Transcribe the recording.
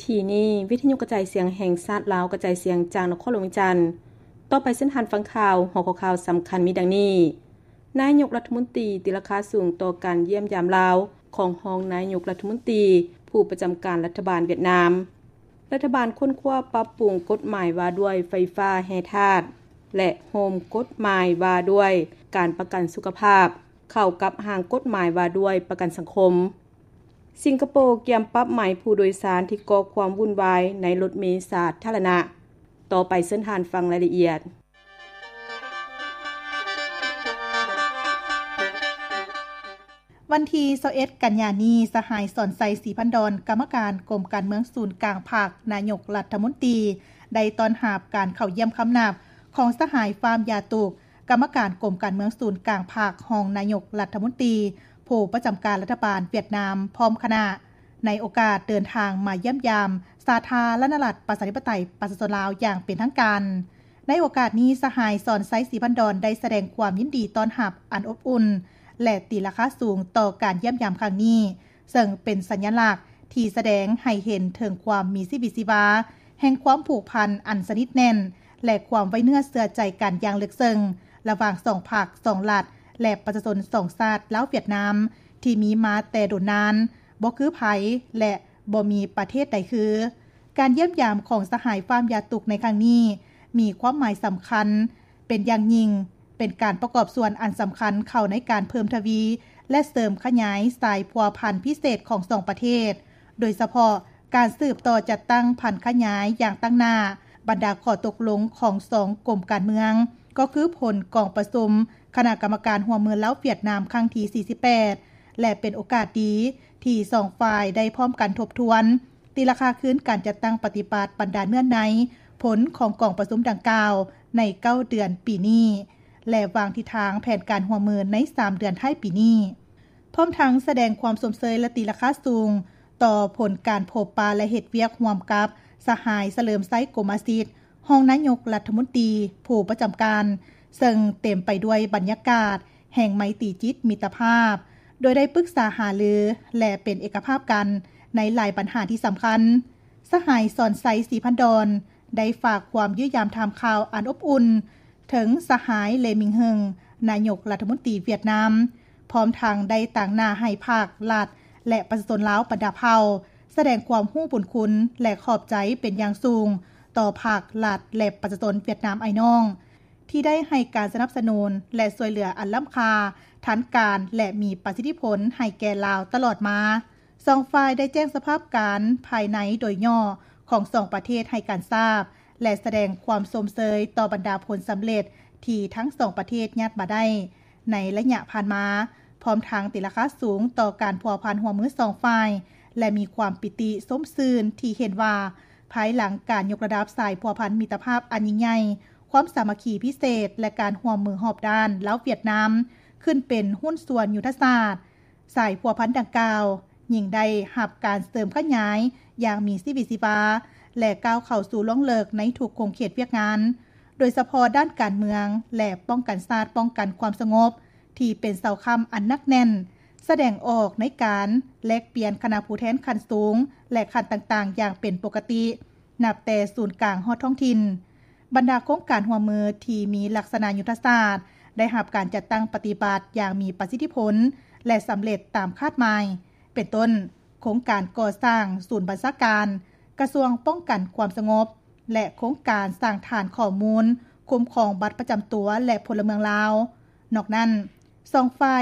ທີ່ນີ້ ວິທະຍຸກະຈາຍສຽງແຫ່ງຊາດລາວ ກະຈາຍສຽງຈາກນະຄອນຫຼວງວຽງຈັນ. ຕໍ່ໄປເຊີນທ່ານຟັງຂ່າວ. ຫົວຂໍ້ຂ່າວສຳຄັນມີດັ່ງນີ້: ນາຍົກລັດຖະມົນຕີຕີລາຄາສູງຕໍ່ການຢ້ຽມຢາມລາວຂອງຮອງນາຍົກລັດຖະມົນຕີ ຜູ້ປະຈຳການລັດຖະບານຫວຽດນາມ. ລັດຖະບານຄົ້ນຄວ້າປັບປຸງກົດໝາຍວ່າດ້ວຍໄຟຟ້າແຮ່ທາດ ແລະ ໂຮມກົດໝາຍວ່າດ້ວຍການປະກັນສຸຂະພາບ ເຂົ້າກັບຮ່າງກົດໝາຍວ່າດ້ວຍປະກັນສັງຄົມ. ສິງກະໂປກຽມປັບໃໝຜູ້ໂດຍສານທີ່ກໍ່ຄວາມວຸ່ນວາຍໃນລົດເມສາທາລະນະ. ຕໍ່ໄປເຊີນທ່ານຟັງລາຍລະອຽດ. ວັນທີຊາວເອັດ ກັນຍານີ້, ສະຫາຍ ສອນໄຊ ສີພັນດອນ ກຳມະການກົມການເມືອງສູນກາງພັກ, ນາຍົກລັດຖະມົນຕີ ໄດ້ຕ້ອນຮັບການເຂົ້າຢ້ຽມຄຳນັບຂອງສະຫາຍ ຟາມ ຢາຕຸກ ກຳມະການກົມການເມືອງສູນກາງພັກ, ຮອງນາຍົກລັດຖະມົນຕີ ຜູ້ປະຈຳການລັດຖະບານຫວຽດນາມ ພ້ອມຄະນະ ໃນໂອກາດເດີນທາງມາຢ້ຽມຢາມສາທາລະນະລັດ ປະຊາທິປະໄຕ ປະຊາຊົນລາວຢ່າງເປັນທາງການ. ໃນໂອກາດນີ້, ສະຫາຍ ສອນໄຊ ສີພັນດອນ ໄດ້ສະແດງຄວາມຍິນດີຕ້ອນຮັບອັນອົບອຸ່ນ ແລະ ຕີລາຄາສູງຕໍ່ການຢ້ຽມຢາມຄັ້ງນີ້, ເຊິ່ງເປັນສັນຍະລັກທີ່ສະແດງໃຫ້ເຫັນເຖິງຄວາມມີຊີວິດຊີວາແຫ່ງຄວາມຜູກພັນອັນສະໜິດແໜ້ນ ແລະ ຄວາມໄວ້ເນື້ອເຊື່ອໃຈກັນຢ່າງເລິກເຊິ່ງ ລະຫວ່າງສອງພັກ, ສອງລັດ ແລະ ປະຊາຊົນສອງຊາດ ລາວ-ຫວຽດນາມ ທີ່ມີມາແຕ່ດົນນານ, ບໍ່ຄືໃຜ ແລະ ບໍ່ມີປະເທດໃດຄື. ການຢ້ຽມຢາມຂອງສະຫາຍ ຟາມ ຢາຕຸກ ໃນຄັ້ງນີ້ ມີຄວາມໝາຍສຳຄັນເປັນຢ່າງຍິ່ງ, ເປັນການປະກອບສ່ວນອັນສຳຄັນເຂົ້າໃນການເພີ່ມທະວີ ແລະ ເສີມຂະຫຍາຍສາຍພົວພັນພິເສດຂອງສອງປະເທດ, ໂດຍສະເພາະການສືບຕໍ່ຈັດຕັ້ງຜັນຂະຫຍາຍຢ່າງຕັ້ງໜ້າບັນດາຂໍ້ຕົກລົງຂອງສອງກົມການເມືອງ, ກໍຄືຜົນກອງປະຊຸມຄະນະກຳມະການຮ່ວມມືລາວ-ຫວຽດນາມ ຄັ້ງທີສີ່ສິບແປດ ແລະ ເປັນໂອກາດດີທີ່ສອງຝ່າຍໄດ້ພ້ອມກັນທົບທວນ ຕີລາຄາຄືນການຈັດຕັ້ງປະຕິບັດບັນດາເນື້ອໃນຜົນຂອງກອງປະຊຸມດັ່ງກ່າວໃນເກົ້າເດືອນປີນີ້ ແລະ ວາງທິດທາງແຜນການຮ່ວມມືໃນສາມເດືອນທ້າຍປີນີ້, ພ້ອມທັງສະແດງຄວາມຊົມເຊີຍ ແລະ ຕີລາຄາສູງຕໍ່ຜົນການພົບປະ ແລະ ເຮັດວຽກຮ່ວມກັບສະຫາຍ ສະເຫຼີມໄຊ ກົມມະສິດ ຮອງນາຍົກລັດຖະມົນຕີຜູ້ປະຈຳການ, ເຊິ່ງເຕັມໄປດ້ວຍບັນຍາກາດແຫ່ງໄມຕີຈິດມິດຕະພາບ, ໂດຍໄດ້ປຶກສາຫາລື ແລະ ເປັນເອກະພາບກັນໃນຫຼາຍບັນຫາທີ່ສຳຄັນ. ສະຫາຍ ສອນໄຊ ສີພັນດອນ ໄດ້ຝາກຄວາມຢ້ຽມຢາມຖາມຂ່າວອັນອົບອຸ່ນເຖິງສະຫາຍ ເລ ມິງເຫິງ ນາຍົກລັດຖະມົນຕີຫວຽດນາມ, ພ້ອມທັງໄດ້ຕາງໜ້າໃຫ້ພັກ, ລັດ ແລະ ປະຊາຊົນລາວບັນດາເຜົ່າ ສະແດງຄວາມຮູ້ບຸນຄຸນ ແລະ ຂອບໃຈເປັນຢ່າງສູງຕໍ່ພັກ, ລັດ ແລະ ປະຊາຊົນຫວຽດນາມອ້າຍນ້ອງ ທີ່ໄດ້ໃຫ້ການສະໜັບສະໜູນ ແລະ ຊ່ວຍເຫຼືອອັນລ້ຳຄ່າ, ທັນການ ແລະ ມີປະສິດທິຜົນໃຫ້ແກ່ລາວຕະຫຼອດມາ. ສອງຝ່າຍໄດ້ແຈ້ງສະພາບການພາຍໃນໂດຍຫຍໍ້ຂອງສອງປະເທດໃຫ້ການຊາບ ແລະ ສະແດງຄວາມຊົມເຊີຍຕໍ່ບັນດາຜົນສຳເລັດທີ່ທັງສອງປະເທດຍາດມາໄດ້ໃນໄລຍະຜ່ານມາ, ພ້ອມທັງຕີລາຄາສູງຕໍ່ການພົວພັນຮ່ວມມືສອງຝ່າຍ ແລະ ມີຄວາມປີຕິຊົມຊື່ນທີ່ເຫັນວ່າ ພາຍຫຼັງການຍົກລະດັບສາຍພົວພັນມິດຕະພາບອັນຍິ່ງໃຫຍ່, ຄວາມສາມັກຄີພິເສດ ແລະ ການຮ່ວມມືຮອບດ້ານລາວຫວຽດນາມ ຂຶ້ນເປັນຫຸ້ນສ່ວນຍຸດທະສາດ, ສາຍພົວພັນດັ່ງກ່າວຍິ່ງໄດ້ຮັບການເສີມຂະຫຍາຍຢ່າງມີຊີວິດຊີວາ ແລະ ກ້າວເຂົ້າສູ່ລວງເລິກໃນທຸກຂົງເຂດວຽກງານ, ໂດຍສະເພາະດ້ານການເມືອງ ແລະ ປ້ອງກັນຊາດ, ປ້ອງກັນຄວາມສະຫງົບ ທີ່ເປັນເສົາຄ້ຳອັນໜັກແໜ້ນ, ສະແດງອອກໃນການແລກປ່ຽນຄະນະຜູ້ແທນຂັ້ນສູງ ແລະ ຂັ້ນຕ່າງໆຢ່າງເປັນປົກກະຕິ, ນັບແຕ່ສູນກາງຮອດທ້ອງຖິ່ນ. ບັນດາໂຄງການຮ່ວມມືທີ່ມີລັກສະນະຍຸດທະສາດ ໄດ້ຮັບການຈັດຕັ້ງປະຕິບັດຢ່າງມີປະສິດທິຜົນ ແລະ ສຳເລັດຕາມຄາດໝາຍ, ເປັນຕົ້ນ ໂຄງການກໍ່ສ້າງສູນບັນຊາການກະຊວງປ້ອງກັນຄວາມສະຫງົບ ແລະ ໂຄງການສ້າງຖານຂໍ້ມູນຄຸ້ມຄອງບັດປະຈຳຕົວ ແລະ ພົນລະເມືອງລາວ. ນອກນັ້ນ, ສອງຝ່າຍ